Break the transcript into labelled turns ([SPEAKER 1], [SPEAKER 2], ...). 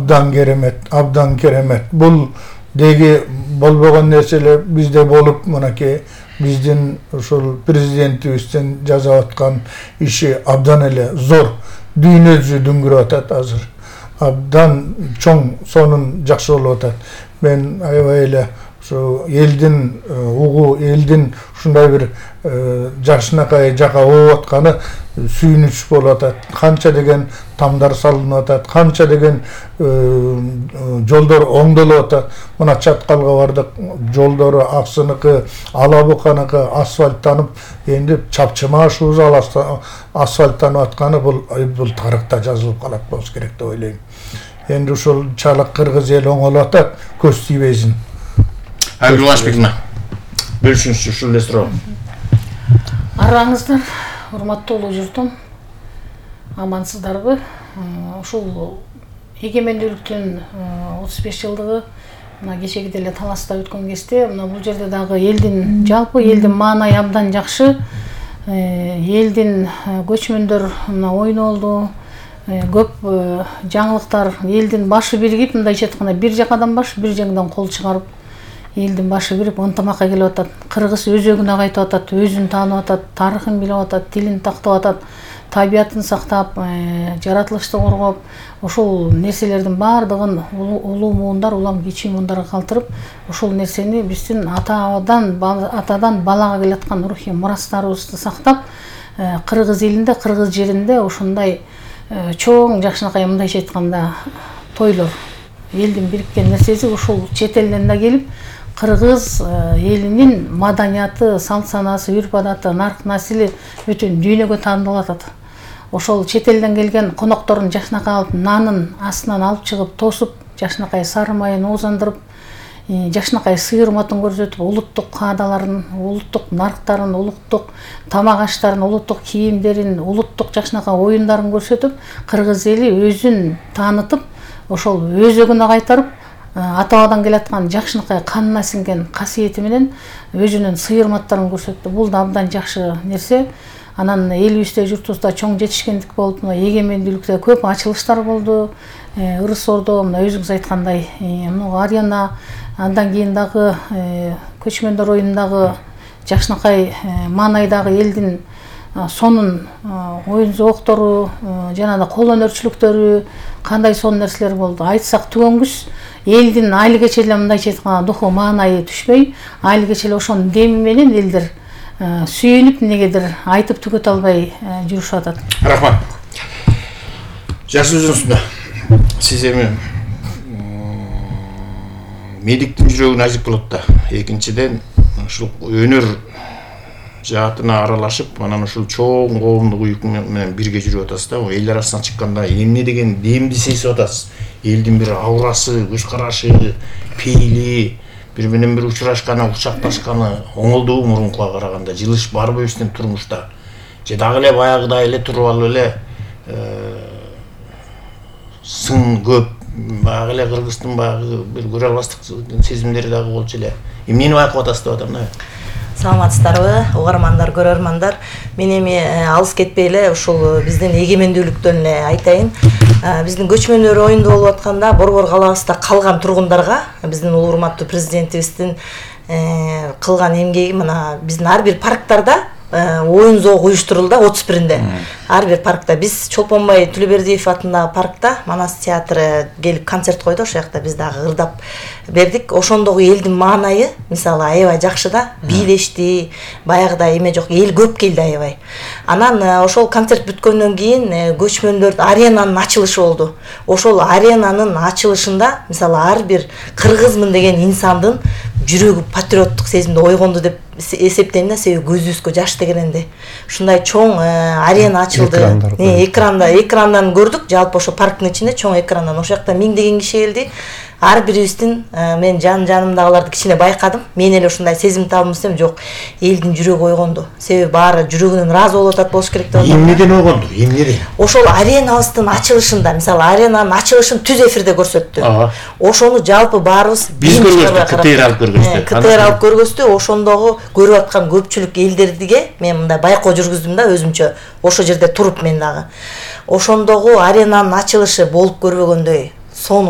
[SPEAKER 1] абдан керемет. Бул деги болбогон нерселер бизде болуп, мынакей биздин ушул президентибиздин жасап аткан иши абдан эле зор. Дүйнө жүзү дүңгүрүп атат азыр. Абдан чоң, сонун жакшы болуп атат. Мен аябай эле ушу элдин элдин ушундай бир жакшынакай жака болуп атканы сүйүнүч болуп атат. Канча деген тамдар салынып атат, канча деген жолдор оңдолуп атат. Мына Чаткалга бардык, жолдору Аксыныкы, Ала Буканыкы асфальттанып, энди чапчымашыбыз асфальттанып атканы бул тарыхта жазылып калат болуш керек деп ойлойм. Энди ушул чалык кыргыз эл оңолуп атат, көз тийбесин.
[SPEAKER 2] Айгүл Улашбековна, бөлүшүңүзчү ушул эле суроо.
[SPEAKER 3] Араңыздар, урматтуу улуу журтум, амансыздарбы? Ушул эгемендүүлүктүн 35 жылдыгы мына кечеги деле таласта өткөн кезде, мына бул жерде дагы элдин жалпы элдин маанайы абдан жакшы. Элдин көчмөндөр мына ойнолду. Көп жаңылыктар, элдин башы биригип, мындайча айтканда бир жакадан баш, бир жеңден кол чыгарып, элдин башы бирип ынтымакка келип атат. Кыргыз өзөгүнө кайтып атат, өзүн таанып атат, тарыхын билип атат, тилин тактап атат, табиятын сактап, жаратылышты коргоп, ушул нерселердин баардыгын улуу муундар, улам кичи муундарга калтырып, ушул нерсени биздин атадан балага келаткан рухий мурастарыбызды сактап, кыргыз элинде, кыргыз жеринде ушундай чоң жакшынакай, мындайча айтканда, тойлор, элдин бириккен нерсеси ушул чет элден да келип, кыргыз элинин маданияты, салт санаасы, үрп адаты, нарк насили бүтүн дүйнөгө таандалып атат. Ошол чет элден келген коноктордун жакшынакай алып, нанын астынан алып чыгып, тосуп, жакшынакай сары майын оозандырып, жакшынакай сыйырматын көрсөтүп, улуттук каадаларын, улуттук нарктарын, улуттук тамак аштарын, улуттук кийимдерин, улуттук жакшынакай оюндарын көрсөтүп, кыргыз эли өзүн таанытып, ошол өзөгүнө кайтарып, ата-бабадан келаткан жакшынакай канына сиңген касиети менен өзүнүн сыйырматтарын көрсөттү. Бул да абдан жакшы нерсе. Анан элибизде, журтубузда чоң жетишкендик болуп, эгемендүүлүктө көп ачылыштар болду. Ырыс Ордо, мына өзүңүз айткандай, арена, андан кийин дагы көчмөндөр оюнундагы жакшынакай маанайдагы элдин сонун оюн зооктору, жана да кол өнөрчүлүктөрү, кандай сонун нерселер болду. Айтсак түгөнгүс, элдин али кече мындайча айтканда духу маанайы түшпөй, али кече ошонун деми менен элдер сүйүнүп, негедир айтып түгөтө албай жүрүшүп атат.
[SPEAKER 2] Рахмат. Жакшы өзүңүзбү. Сиз эми медиктин жүрөгүнө ажып болот да. Экинчиден, ушул өнөр жаатына аралашып, анан ушул чоң коомдук уюк менен бирге жүрүп атасыз да. Эл арасына чыкканда эмне деген демди сезип атасыз. Элдин бир аурасы, көз карашы, пейили, бири менен бири учурашканы, кучакташканы оңолдубу мурункуга караганда? Жылыш барбы биздин турмушта? Же дагы эле баягыдай эле туруп алып эле сын көп, баягы эле кыргыздын баягы бир көрө албастык сезимдери дагы болчу эле. Эмнени байкап атасыз деп атам да.
[SPEAKER 4] Саламатсыздарбы, угармандар, көрөрмандар. Мен эми алыс кетпей эле ушул биздин эгемендүүлүктөн эле айтайын. Биздин көчмөндөр оюнду болуп атканда Борбор калабызда калган тургундарга биздин улуу урматтуу президентибиздин кылган эмгеги, мына биздин ар бир парктарда оюн зоок уюштурулду 31-нде. Ар бир паркта биз Чолпонбай Төлөбердиев атындагы паркта Манас театры келип концерт койду, ошол жакта биз дагы ырдап бердик. Ошондогу элдин маанайы мисалы аябай жакшы да, бийлешти, баягыдай эме жок, эл көп келди аябай. Анан ошол концерт бүткөндөн кийин көчмөндөр аренанын ачылышы болду. Ошол аренанын ачылышында мисалы ар бир кыргызмын деген инсандын жүрөгү патриоттук сезимди ойгонду деп эсептейм да, себеби көзүбүзгө жаш тегененде. Ушундай чоң арена ачылды. Экрандан көрдүк, жалпы ошо парктын ичинде чоң экрандан. Ошол жакта миңдеген киши келди. Ар бирибиздин мен жанымдагыларды кичине байкадым. Мен эле ушундай сезим табым десем, жок, элдин жүрөгү ойгонду. Себеби баары жүрөгүнөн ыраазы болуп атат болуш керек деп атам.
[SPEAKER 2] Эмнеден ойгонду? Эмнеден?
[SPEAKER 4] Ошол аренабыздын ачылышында, мисалы аренанын ачылышын түз эфирде көрсөттү. Ошону жалпы баарыбыз
[SPEAKER 2] биз көргөздүк, КТР алып көргөздү.
[SPEAKER 4] КТР алып көргөздү. Ошондогу көрүп аткан көпчүлүк элдерге мен мындай байкоо жүргүздүм да өзүмчө. Ошол жерде туруп мен дагы. Ошондогу аренанын ачылышы болуп көрбөгөндөй сонун